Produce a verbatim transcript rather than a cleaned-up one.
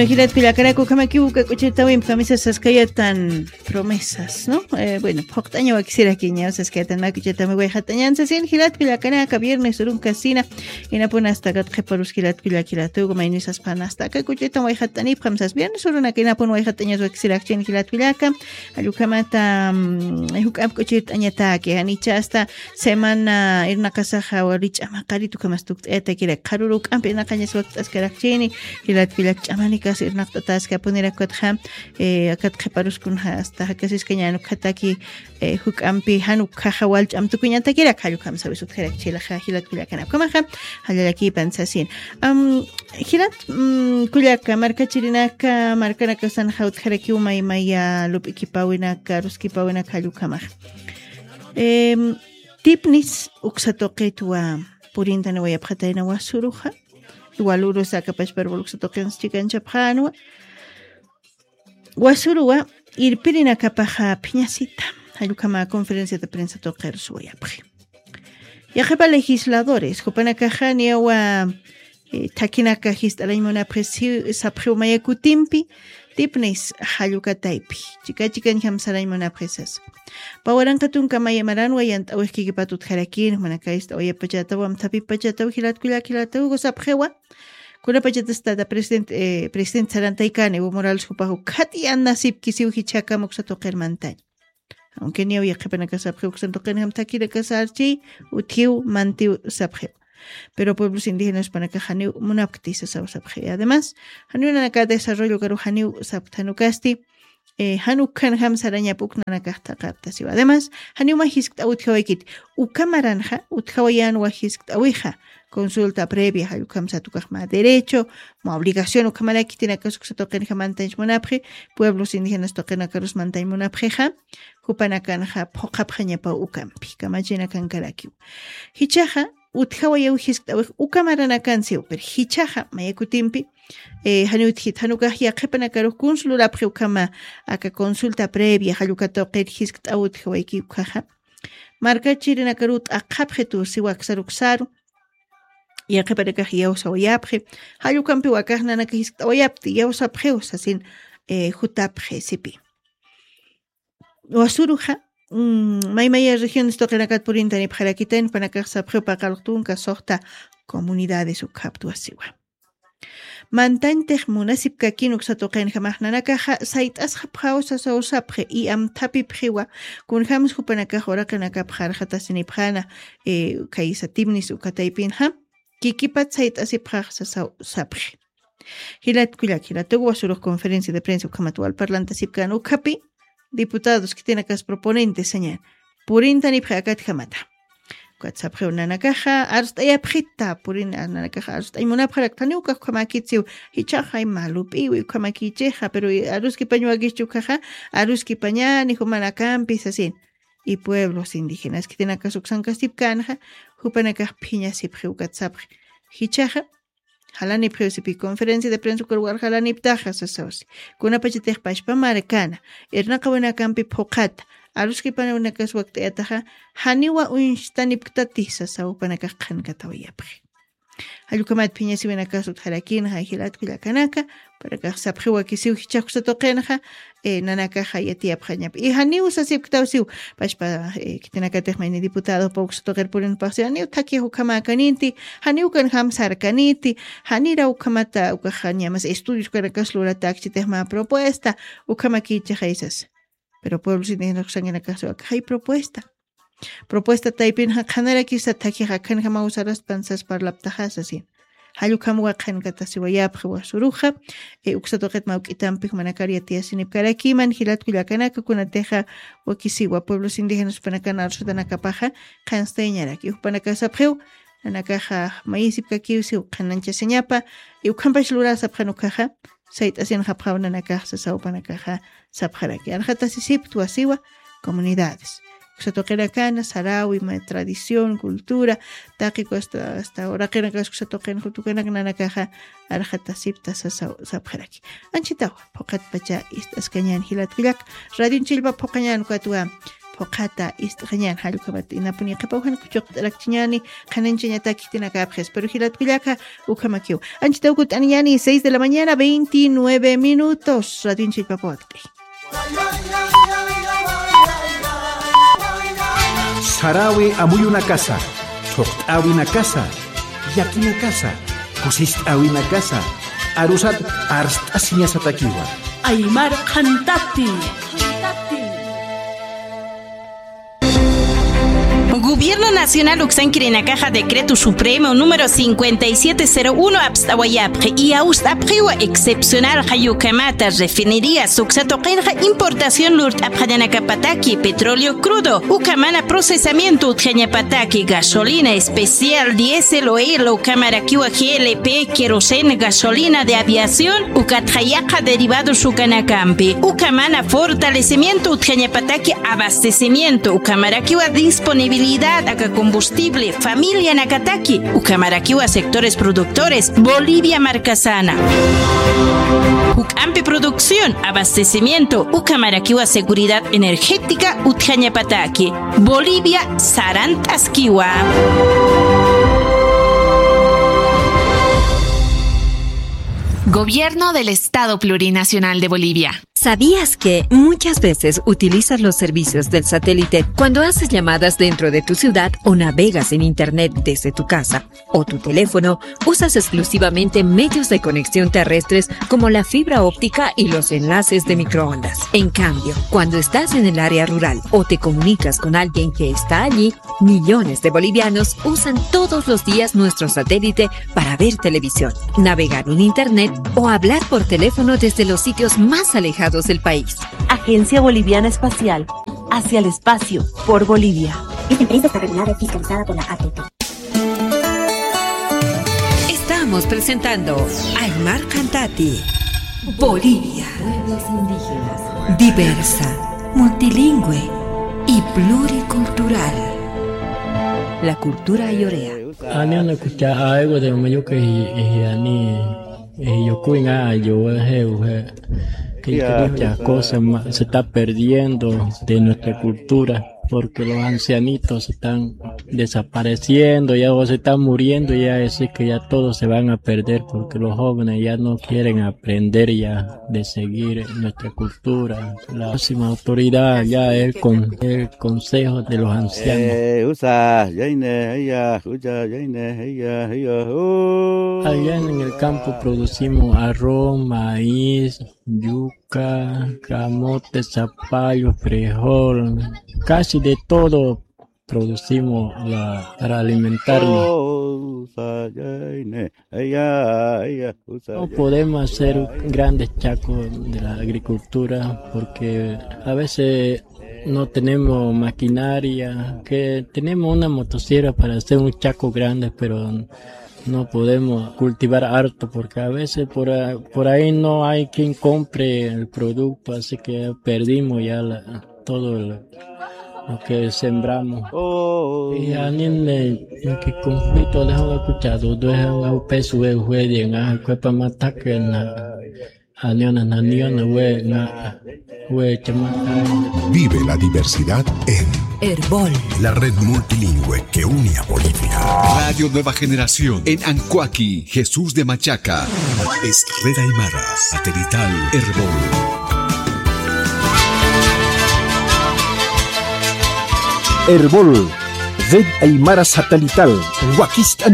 Jilat kullakanaka, ukhamakiw uka k'uchirtawimpi kamisas saskayatan promesas, ¿no? Eh, bueno, phuqt'aña wakisirakiña saskayatan mä k'uchirtawimpi wayxatañan sasin, jilat kullakanaka, viernes urunka sina, inapun hasta kat qhiparus jilat kullak jilatuku, maynisaspan hasta aka k'uchirtan wayxatanipxam sas, viernes urunaka inapun wayxatañas wakisirakchin jilat kullaka, allukhamata, mm, juk'amp k'uchirt'añataki, janicha hasta semana irnaqasaxa wali ch'ama qaritu ukhamas tukt'ayatakirak, qharuru juk'ampi irnaqañas wakt'askarakchini, jilat kullak ch'amanikas irnaqt'ataski, apunirakkutxa, eh, akat qhiparuskunxa hasta jakasiskañan ukhataki, eh, juk'ampi jan ukhaxa wal ch'am tukuñatakirak, jallukhamsawis utjarakchilaxa, jilat kullakanaka, ukhamaxa jallallakipan sasin. Am, jilat, mm, kullaka, markachirinaka, markanakasanxa utjarakiw maymaya lup'ikipäwinaka, aruskipäwinaka, jallukhamaxa. Em, tipnis uksa tuqitwa purintaniwayapxatayna Wasuruxa, walurus aka pachpa arboles uksa tuqinsa chikanchapxänwa. Wasuruwa irpirinakapaxa phiñasita, jallukhama conferencia de prensa tuqirus wayapxi. Yaqhipa legisladores, jupanakaxa niyawa, eh, thakinaka jist'arañ munapxi si-, sapxiw maya kutimpi, tipnis jallukataypi, chika chikañjam sarañ munapxi sasa. Pä waranqa tunka maya maranwa yant'awix kikipat utjarakïn, jumanaka ist'awayapachätaw, amthapipachätaw, jilat kullak jilatuku sapxiwa. Kunapachatas tata presidente, eh, presidente sarantaykani, Evo Morales jupax ukkhat yanasipkisiw jichhakam uksa tuqir mantañ. Aunque niyaw yaqhipanaka sapxiw uksan tuqinjam thakinaka sarchi, utjiw mantiw sapxiw. Pero pueblos indígenas jupanakax janiw munapkti sasaw sapxi. Además, janiw nanaka desarrollo karu janiw sapkti jan ukasti, eh, jan ukhanjam sarañap uk nanakax thaqaptasiw. Además, janiw mä jiskt'aw utjawaykiti. Uka maranxa, utjawayänwa jiskt'awixa. Consulta previa, jallukham sat ukax mä derecho, mä obligación, ukhamaraki khitinakas uksa tuqinxa mantañ munapxi, pueblos indígenas tuqinakarus mantañ munapxixa, jupanakanxa phuqhapxañapaw ukampi, kamachinakankaraki. Jichhaxa, utjawayaw jiskt'awix uka maranakansiw, pero jichhaxa maya kutimpi, eh, janiw utjit, jan ukax yaqhipanakarux kuns lurapxi ukhama aka consulta previa, jalluka tuqir jiskt'aw utjawayki ukkhaxa. Markachirinakaru t'aqhapxi tusiwa aksar uksaru, yaqhipanakax iyawsawayapxi, jallukampiw akax nanaka jiskt'awayapti, iyawsapxiw sasin, eh, jutapxi sipi. Wasuruxa, mm, maymaya regiones tuqinakat purintanipxarakitayna, jupanakax sapxiw paqallq tunka suxta comunidades ukhaptwa siwa. Mantañtix munasipkakin uksa tuqinjamax nanakaxa sayt'asxapxaw sasaw sapxi, y amthapipxiwa, kunjams jupanakax uraqinakapxa arxatasinipxäna, eh, khaysa tipnis uka taypinxa, kikipat sayt'asipxax sasaw sapxi. Jilat kullak, jilatuku Wasurux conferencia de prensa ukhamat wal parlantasipkän ukhapi, diputados khitinakas proponentes sañan, purintanipxi akatjamata. Ukat sapxiw nanakaxa arst'ayapxita, purin, nanakaxa arst'añ munapxarakta, janiw ukax ukhamäkitsiw, jichhaxa ima lup'iwi ukhamäkichixa, pero aruskipañ wakischi ukkhaxa, aruskipañäni jumanakampi sasin. Y pueblos indígenas khitinakas uksankasipkänxa, jupanakax phiñasipxi ukat sapxi. Jichhaxa, jalanipxiw sipi, conferencia de prensa ukar wal jalaniptaxa sasaw si. Kunapachatix pachpa markana, irnaqawinakampi phuqhata, aruskipanakas wakt'ayataxa, janiwa uñstanipktati sasaw jupanakax qhankatawayapxi. Jallukhamat phiñasiwinakas utjarakinxa jilat kullakanaka, jupanakax sapxiw wakisiw jichhax uksa tuqinxa, eh, nanakaxa yatiyapxañapa. Y janiw sasipktawsiw, pachpa, eh, khitinakatix mayni diputadopa uksa tuqir purinpaxsiw, janiw thakix ukhamäkaniti, janiw ukanjam sarkaniti, janira ukhamata ukaxa ñamas estudios ukanakas luratäkchitix mä propuesta, ukhamäkichixay sasa. Pero pueblos indígenas uksankinakaxsiw akaxay propuesta. Propuesta taypinxa qhanarakisa thakix akhanjamaw saraspan sas parlaptaxa sasin. Jallukhamwa qhankatasiwayapxi Wasuruxa, eh, uksa tuqit mä juk'itampi jumanakar yatiyasinipkarakiman, jilat kullakanaka, kunatixa wakisiwa pueblos indígenas jupanakan arsutanakapaxa qhanstayañaraki. Jupanakax sapxiw, nanakaxa mayisipkakiw siw qhananchasiñapa, y ukhampach lurä sapxän ukkhaxa, sayt'asinxapxaw nanakax sasaw jupanakaxa sapxaraki. Arxatasisiptwa siwa comunidades. Uksa tuqinakana, saräwi, ma tradición, cultura, taqiku hasta, hasta uraqinakas uksa tuqin jutukanak nanakaxa arxatasipta sasaw sapxaraki. Anchitawa, phuqhatpacha ist'askañän jilat kullak, radioñ chillpa phuqañän ukatwa, uqhata ist'xañän, jall ukhamat inapuni qhipaw jan kuchuqt'arakchiñäni, qhananchañatak khitinakapxis. Pero jilat kullaka, ukhamakiw. Anchitaw kutt'aniñäni, seis de la mañana, veintinueve minutos. Radionchallpapaw wakt'i. Saräwi amuyunakasa, thuqt'äwinakasa, llakinakasa, kusist'äwinakasa, arusat arst'asiñasatakiwa. Aymar qhantati. Gobierno Nacional uksankirinakaxa Decreto Supremo número cincuenta y siete cero uno apst'awayapxi, iyawst'apxiwa excepcional jall ukhamata refinerías uksa tuqinxa importación lurt'apxañanakapataki petróleo crudo, ukhamana procesamiento utjañapataki gasolina especial, diésel, oil, ukhamarakiwa G L P, queroseno, gasolina de aviación, ukatxa yaqha derivados ukanakampi, ukhamana fortalecimiento utjañapataki abastecimiento, ukhamarakiwa disponibilidad aka combustible, familianakataki, ukhamarakiwa sectores productores, Bolivia markasana. Juk'ampi producción, abastecimiento, ukhamarakiwa seguridad energética utjañapataki, Bolivia sarant'askiwa. Gobierno del Estado Plurinacional de Bolivia. ¿Sabías que muchas veces utilizas los servicios del satélite cuando haces llamadas dentro de tu ciudad o navegas en internet desde tu casa o tu teléfono? Usas exclusivamente medios de conexión terrestres como la fibra óptica y los enlaces de microondas. En cambio, cuando estás en el área rural o te comunicas con alguien que está allí, millones de bolivianos usan todos los días nuestro satélite para ver televisión, navegar en internet o hablar por teléfono desde los sitios más alejados del país. Agencia Boliviana Espacial, hacia el espacio, por Bolivia. Esta empresa está regulada y fiscalizada por la A T T. Estamos presentando Aymar Cantati, Bolivia. Pueblos indígenas. Diversa, multilingüe y pluricultural. La cultura ayorea. Ani una kucha aiwa de mayuka y, y ani, y yo kuinga yo he, he, que, que muchas cosas ma-, se está perdiendo de nuestra cultura, porque los ancianitos se están desapareciendo, ya o se están muriendo, ya es que ya todos se van a perder, porque los jóvenes ya no quieren aprender ya de seguir nuestra cultura. La máxima autoridad ya es con el Consejo de los Ancianos. Eh, usa, yaine, ella, usa, yaine, ella, ella, uh. Allá en el campo producimos arroz, maíz, yuca, camote, zapallo, frijol, casi de todo producimos la, para alimentarnos. No podemos hacer grandes chacos de la agricultura porque a veces no tenemos maquinaria, que tenemos una motosierra para hacer un chaco grande, pero no podemos cultivar harto porque a veces por a-, por ahí no hay quien compre el producto, así que perdimos ya la, todo lo, lo que sembramos. Y anime, que conflicto de escuchado, de un peso de juegue, en a cuepa mata que na, aniona, naniona, we, na, we, chama. Vive la diversidad en Erbol, la red multilingüe que une a Bolivia. Radio Nueva Generación en Ancoaqui, Jesús de Machaca. Es Red Aymara, satelital, Erbol. Erbol, Red Aymara Satelital, Wakist'an.